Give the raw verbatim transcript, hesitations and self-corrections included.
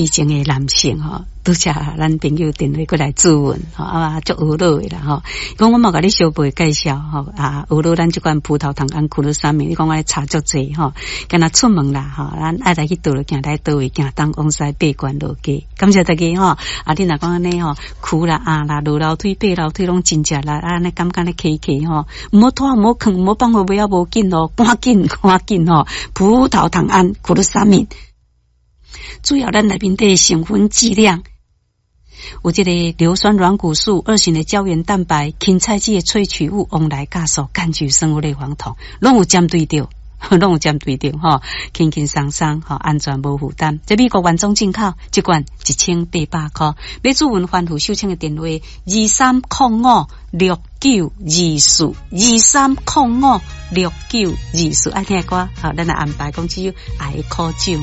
癡情的男性吼。拄才咱朋友電話過來諮問吼，啊，足懊惱的啦吼。講我嘛共你小輩介紹吼，啊，懊惱咱這款葡萄糖胺苦魯三明，你講我查足濟吼，敢若出門啦吼，咱愛來去佗落行來佗位行東往西爬懸落低，感謝大家吼。啊，你若講按呢吼，跍啦壓啦落樓梯爬樓梯攏真食力，啊，按呢感覺咧起起吼，毋好拖，毋好囥，毋好放予尾仔無緊咯，趕緊趕緊吼，葡萄糖胺苦魯三明，主要咱內面底成分劑量。有這個硫酸軟骨素、二型的膠原蛋白、芹菜籽的萃取物、黃來酵素、柑橘生物類黃酮，攏有針對著，攏有針對著吼，輕輕鬆鬆吼，安全無負擔。這美國原裝進口，這罐一千八百箍。欲諮詢翻覆秀清的電話：二三空五六九二四，二三空五六九二四。愛聽的歌，好，咱來安排講只有愛的苦酒。